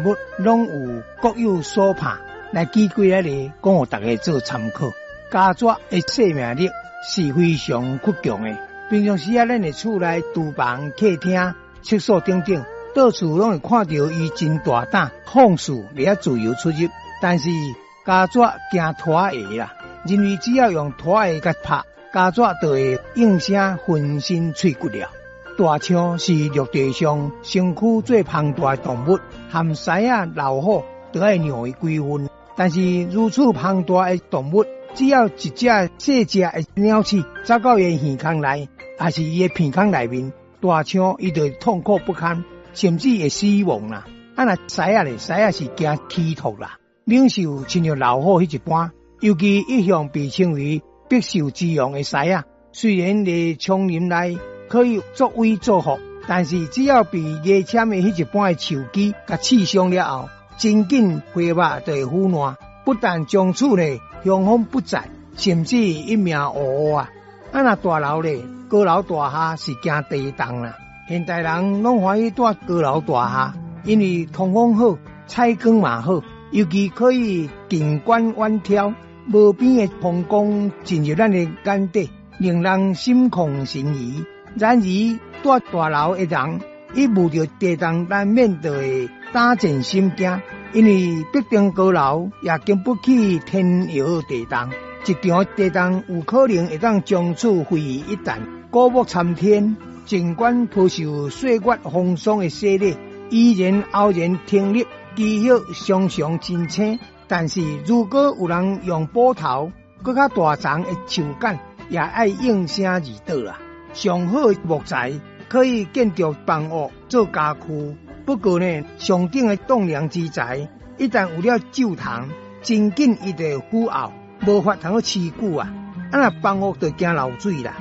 物攏有各有所怕。來舉幾个例，講予大家做參考。家蛇的生命力是非常倔強的。平常時啊，咱佇厝內廚房、客廳、廁所等等，到處攏會看著伊真大膽放肆佇遐自由出入。但是家蛇驚拖鞋啦，認為只要用拖鞋共拍，家蛇就會應聲粉身碎骨了。大象是陸地上身軀最龐大的動物，含獅仔、老虎都愛讓伊幾分。但是如此龐大的動物，只要一隻細隻的鳥鼠走到伊的耳孔內，抑是伊的鼻孔內面，大象伊就會痛苦不堪，甚至會死亡啦。啊若獅仔咧，獅仔是驚齒托啦。猛獸親像老虎彼一般，尤其一向被稱為百獸之王的獅仔，雖然佇叢林內可以作威作福，但是只要被牙籤的彼一般的樹枝共刺傷了後，真緊花肉就會腐爛，不但從此呢雄風不再，甚至一命嗚呼啊！啊若大樓咧，高樓大廈是驚地動啦。現代人攏歡喜蹛高樓大廈，因為通風好，採光嘛好，尤其可以近觀遠眺，無邊的風光進入咱的眼底，令人心曠神怡。然而，蹛大樓的人一遇著地動，難免就會膽戰心驚，因為必定高樓也經不起天搖地動。一場地動有可能會當將厝毀於一旦，古木參天，儘管頗受歲月風霜的洗禮，依然傲然挺立，枝葉常常真青。但是如果有人用斧頭閣較大叢的樹幹，也愛應聲而倒啦。上好的木材可以建築房屋、做家具。不過呢，上等的棟梁之材，一旦有了蛀蟲，真緊伊就會腐沤，無法通去持久啊！啊若房屋就驚漏水啦。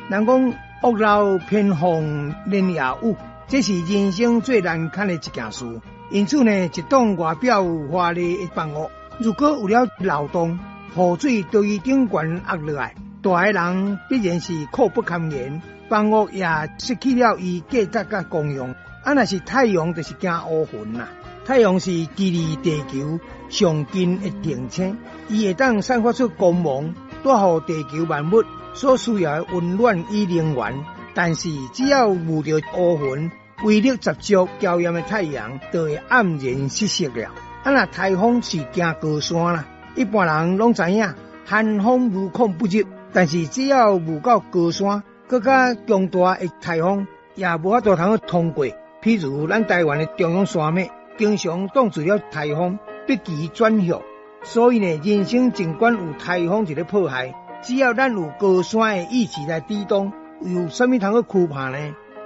人講屋漏偏逢連夜雨，這是人生最難堪的一件事。因此呢，一棟外表華麗的房屋，如果有了漏洞，雨水對伊頂懸壓落來，蹛的人必然是苦不堪言，房屋也失去了伊價值佮功用。啊，若是太陽，就是驚烏雲啦。太陽是距離地球上近的行星，伊會當散發出光芒，帶予地球萬物所需要的溫暖與能源。但是只要遇著烏雲，威力十足、嬌豔的太陽就會黯然失色了。啊，若颱風是驚高山啦，一般人攏知影，寒風無孔不入。但是只要遇到高山，閣較強大的颱風，也無法度通去通過。譬如咱台灣的中央山脈，經常擋住了颱風，逼其轉向。所以呢，人生儘管有颱風佇咧破壞，只要咱有高山的意志來抵擋，有啥物通去懼怕呢？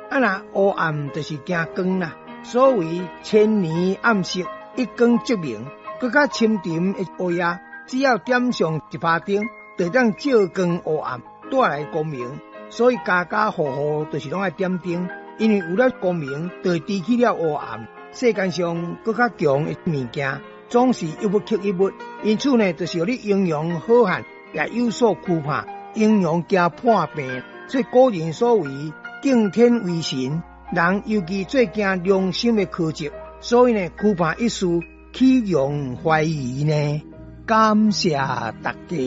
啊若烏暗就是驚光啦。所謂千年暗色，一光即明。閣較深沉的烏夜，只要點上一趴燈，就會當照光烏暗，帶來光明。所以家家戶戶就是攏愛點燈，因為有了光明，就會除去了烏暗。世間上閣較強的物件，總是一物克一物。因此呢，就是予你英雄好漢也有所懼怕，英雄驚破病。所以古人所謂敬天畏神，人尤其最驚良心的苛責。所以呢，懼怕一事，豈容懷疑呢？感謝大家。